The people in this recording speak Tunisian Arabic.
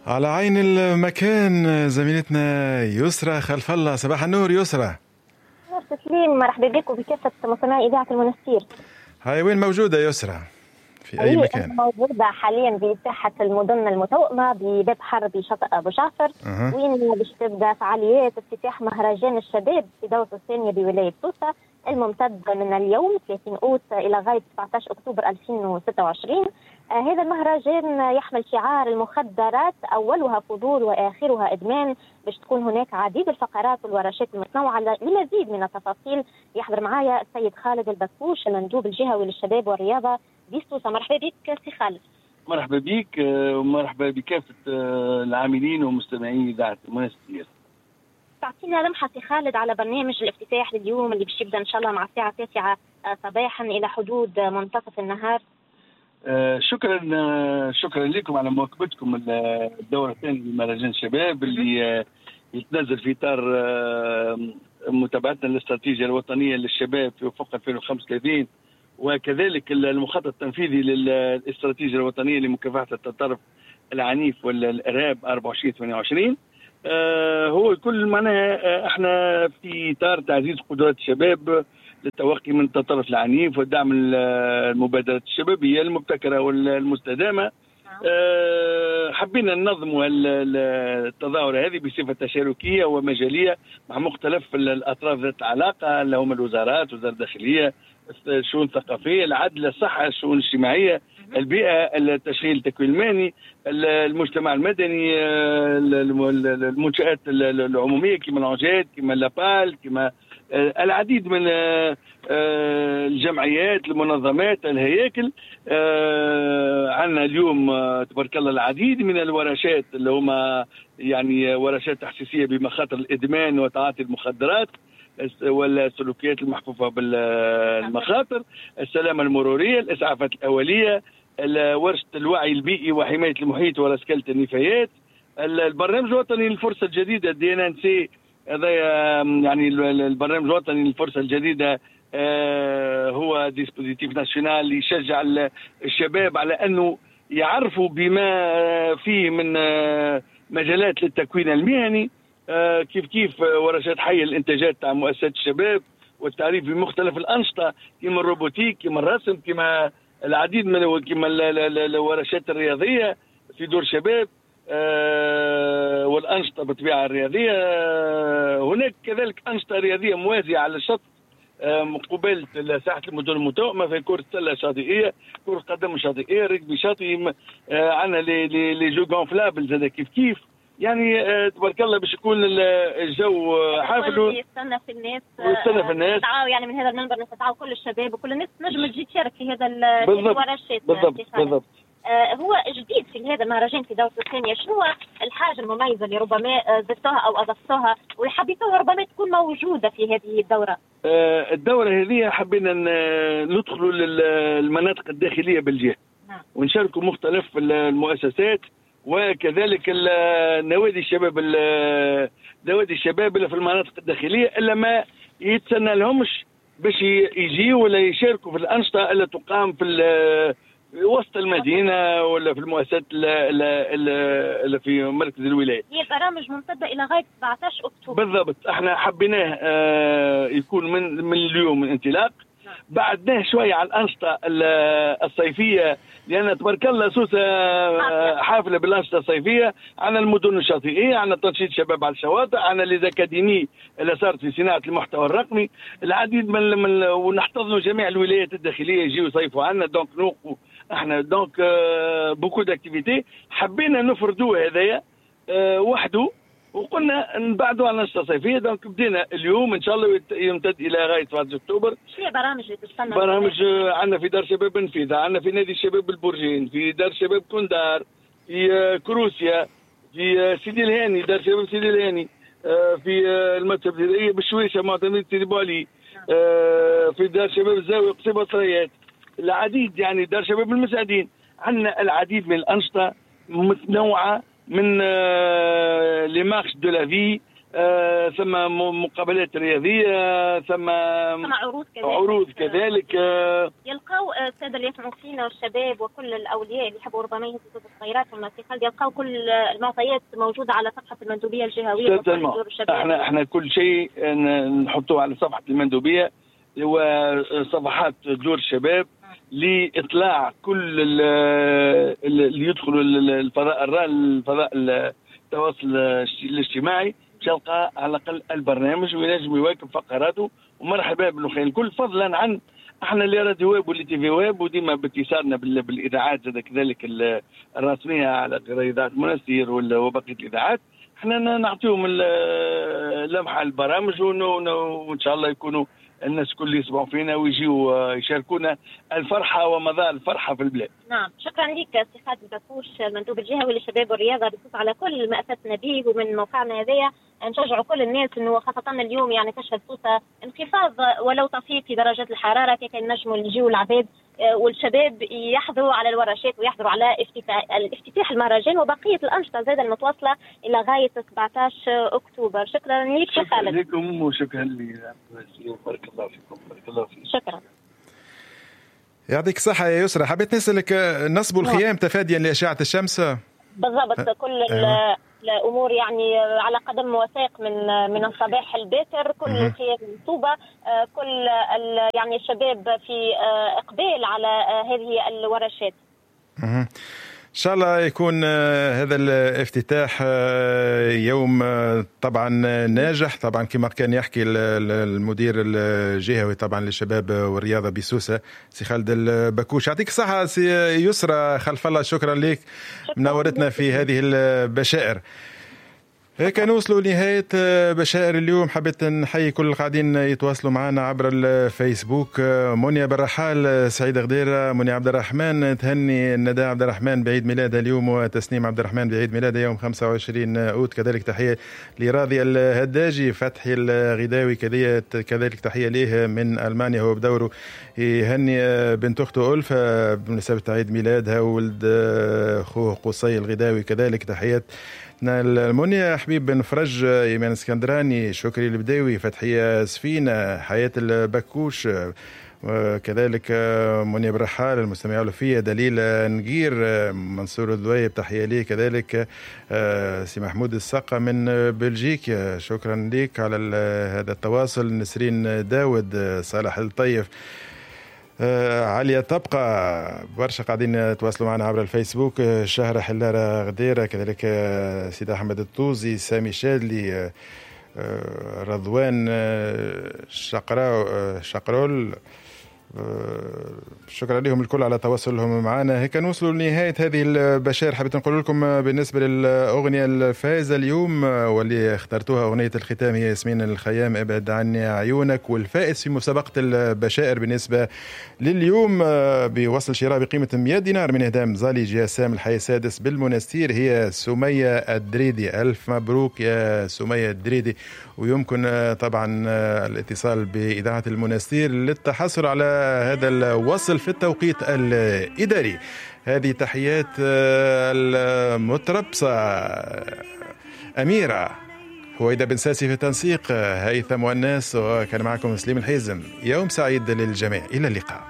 على عين المكان زميلتنا يسرى خلف الله. صباح النور يسرى. نور تسليم، مرحبا بك وبكافة مستمعي إذاعة المنستير. هاي وين موجودة يسرى؟ في أي مكان؟ موجودة حاليا بساحة المدن المتوأمة بباب حر بشاطئ أبو جعفر. وين باش تبدا فعاليات افتتاح مهرجان الشباب في دورته الثانية بولاية سوسة الممتد من اليوم 30 أوت إلى غاية 17 أكتوبر 2026. هذا المهرجان يحمل شعار المخدرات أولها فضول وآخرها إدمان. باش تكون هناك عديد الفقرات والورشات المتنوعة. لمزيد من التفاصيل يحضر معايا السيد خالد البكوش، المندوب الجهوي للشباب والرياضة بسوسة. مرحبا بك سي خالد. مرحبا بك ومرحبا بكافة العاملين ومستمعين إذاعة المنستير. تعطينا لمحة سي خالد على برنامج الافتتاح لليوم اللي باش يبدا إن شاء الله مع الساعة 9 صباحا إلى حدود منتصف النهار. شكرا لكم على مواكبتكم الدورة الثانية لمهرجان الشباب اللي يتنزل في إطار متابعتنا للاستراتيجية الوطنية للشباب في أفق 2035، وكذلك المخطط التنفيذي للاستراتيجية الوطنية لمكافحة التطرف العنيف والإرهاب 24-28. هو كل معناها احنا في إطار تعزيز قدرات الشباب للتوقي من التطرف العنيف ودعم المبادرات الشبابية المبتكرة والمستدامة. حبينا ننظموا التظاهرة هذه بصفة تشاركية ومجالية مع مختلف الأطراف ذات العلاقة اللي هم الوزارات، وزارة الداخلية، الشؤون الثقافية، العدل، الصحة، الشؤون الاجتماعية، البيئة، التشغيل، التكوين المهني، المجتمع المدني، المنشآت العمومية كما العنجات، كما لابال، كما العديد من الجمعيات، المنظمات، الهياكل. عندنا اليوم تبارك الله العديد من الورشات اللي هما يعني ورشات تحسيسية بمخاطر الإدمان وتعاطي المخدرات والسلوكيات المحفوفة بالمخاطر، السلامة المرورية، الإسعافات الأولية، ورشة الوعي البيئي وحماية المحيط ورسكلة النفايات، البرنامج الوطني للفرصة الجديدة DNNC. هذا يعني البرنامج الوطني للفرصة الجديدة هو dispositif national يشجع الشباب على أنه يعرفوا بما فيه من مجالات للتكوين المهني. كيف ورشات حية الإنتاجات تاع مؤسسات الشباب والتعريف بمختلف الأنشطة كما ال robotique، كما الرسم، كما العديد من كما الورشات الرياضية في دور شباب والأنشطة بالطبيعة الرياضية. هناك كذلك أنشطة رياضية موازية على الشط مقابلة ساحة المدن المتوأمة في كرة سلة شاطئية، كرة قدم شاطئية، رجبي شاطئي، عندنا les jeux gonflables زاد كيف كيف. يعني تبارك الله باش يكون الجو حافل. يستنى في الناس، ويستنى في الناس. يعني من هذا المنبر نستدعوا كل الشباب وكل الناس تنجم تجي تشارك في هذا الورشات. بالضبط. هو جديد في هذا المهرجان في دورته الثانية، شنو الحاجة المميزة اللي ربما زدتوها أو أضفتوها وحبيتوها ربما تكون موجودة في هذه الدورة؟ الدورة هذه حبينا ندخلوا للمناطق الداخلية بالجهة. نعم. ونشاركوا مختلف المؤسسات وكذلك نوادي الشباب، نوادي الشباب اللي في المناطق الداخلية إلا ما يتسنى لهمش باش يجيوا ولا يشاركوا في الأنشطة اللي تقام في وسط المدينة ولا في المؤسسات اللي في مركز الولاية. هي برامج ممتدة إلى غاية 17 أكتوبر. بالضبط، احنا حبيناه يكون من اليوم من انطلاق. بعدناه شوية على الأنشطة الصيفية لأن تبارك الله سوسة حافلة بالأنشطة الصيفية. عندنا المدن الشاطئية، عندنا تنشيط شباب على الشواطئ، عندنا les académies اللي صارت في صناعة المحتوى الرقمي، العديد من ونحتضنوا جميع الولايات الداخلية يجيو يصيفوا عندنا. donc نوقفوا احنا donc beaucoup d'activités. حبينا نفردوه هذايا وحده وقلنا نبعدوا على الأنشطة الصيفية. donc بدينا اليوم إن شاء الله يمتد إلى غاية 17 أكتوبر. شنو هي برامج اللي تستنى؟ برامج عندنا في دار شباب نفيذة، عندنا في نادي الشباب البرجين، في دار شباب كندار، في كروسيا، في سيدي الهاني، دار شباب سيدي الهاني، في المكتب الابتدائية بالشويشة معتمدة سيدي بوعلي، في دار شباب الزاوية قصيبة صريات، العديد يعني دار شباب المساعدين. عندنا العديد من الأنشطة متنوعة من les marches de la vie، ثم مقابلات رياضية، ثم عروض كذلك. يلقاو السادة اللي يسمعوا فينا والشباب وكل الاولياء اللي يحبوا ربما يهزوا صغيراتهم في خالد، يلقاو كل المعطيات موجودة على صفحة المندوبيه الجهوية. احنا كل شيء نحطوه على صفحة المندوبيه وصفحات دور الشباب لاطلاع كل اللي يدخلوا الفضاء الفضاء التواصل الاجتماعي، يلقى على الاقل البرنامج وينجم يواكب فقراته. ومرحبا بالأخوين الكل، فضلا عن احنا اللي راديو ويب واللي TV web، وديما باتصالنا بالاذاعات كذلك الرسمية على اذاعة منستير وبقية الاذاعات، احنا نعطيهم لمحه البرامج، وان شاء الله يكونوا الناس كل يسمعوا فينا ويجيوا يشاركونا الفرحة ومضى الفرحة في البلاد. نعم، شكرا لك سي خالد البكوش المندوب الجهوي للشباب والرياضة بخصوص على كل ما افدتنا به. ومن موقعنا هذايا نشجعوا كل الناس انه خاصة اليوم يعني تشهد سوسة انخفاض ولو طفيف في درجات الحرارة، كيف نجموا نجيو العباد والشباب يحضروا على الورشات ويحضروا على افتتاح المهرجان وبقية الانشطة زاد المتواصلة الى غاية 17 اكتوبر. شكرا لك شكرا لكم وشكرا لي، بارك الله فيكم. بارك الله فيكم، شكرا. يعطيك الصحة يا يسرى. حبيت نسألك، نصب الخيام تفاديا لأشعة الشمس؟ بالضبط، كل الأمور يعني على قدم وساق من الصباح الباكر، كل الخيام منصوبة، كل يعني الشباب في إقبال على هذه الورشات. إن شاء الله يكون هذا الافتتاح يوم طبعا ناجح، طبعا كما كان يحكي المدير الجهوي طبعا للشباب والرياضة بسوسة سي خالد البكوش. يعطيك الصحة سي يسرى خلف الله، شكرا لك، منورتنا في هذه البشائر. هيك نوصلوا لنهاية بشائر اليوم. حبيت نحيي كل القاعدين يتواصلوا معنا عبر الفيسبوك، منيا بالرحال، سعيد غديرة، منيا عبد الرحمن تهني ندى عبد الرحمن بعيد ميلادها اليوم، وتسنيم عبد الرحمن بعيد ميلادها يوم 25 أوت. كذلك تحية لراضي الهداجي، فتحي الغداوي كذلك تحية ليه من ألمانيا، هو بدوره يهني بنت أخته ألفة بمناسبة عيد ميلادها، وولد أخوه قصي الغداوي كذلك تحيات المنيا، حبيب بن فرج، إيمان اسكندراني، شكري البداوي، فتحية سفينة، حياة البكوش، كذلك منيا برحال، المستمع الوفية، دليل نقير، منصور الذويب تحية ليه، كذلك سي محمود السقا من بلجيكا، شكرا لك على هذا التواصل، نسرين داود، صالح الطيف، عليا تبقى، برشا قاعدين يتواصلوا معنا عبر الفيسبوك، شهرة حلارة غديرة، كذلك سيد أحمد الطوزي، سامي شادلي، رضوان شقرول، شكرا لهم الكل على تواصلهم معنا. هيك نوصلوا لنهاية هذه البشائر. حبيت نقول لكم بالنسبة للأغنية الفائزة اليوم واللي اخترتوها أغنية الختام هي ياسمين الخيام ابعد عني عيونك، والفائز في مسابقة البشائر بالنسبة لليوم بوصل شراء بقيمة 100 دينار من إهدام زالي جسام الحي السادس بالمنستير هي سمية الدريدي. ألف مبروك يا سمية الدريدي، ويمكن طبعا الاتصال بإذاعة المنستير للتحصل على هذا الوصل في التوقيت الإداري. هذه تحيات المتربصة أميرة هويدا بن ساسي في التنسيق، هيثم والناس، وكان معكم سليم الحيزم. يوم سعيد للجميع، إلى اللقاء.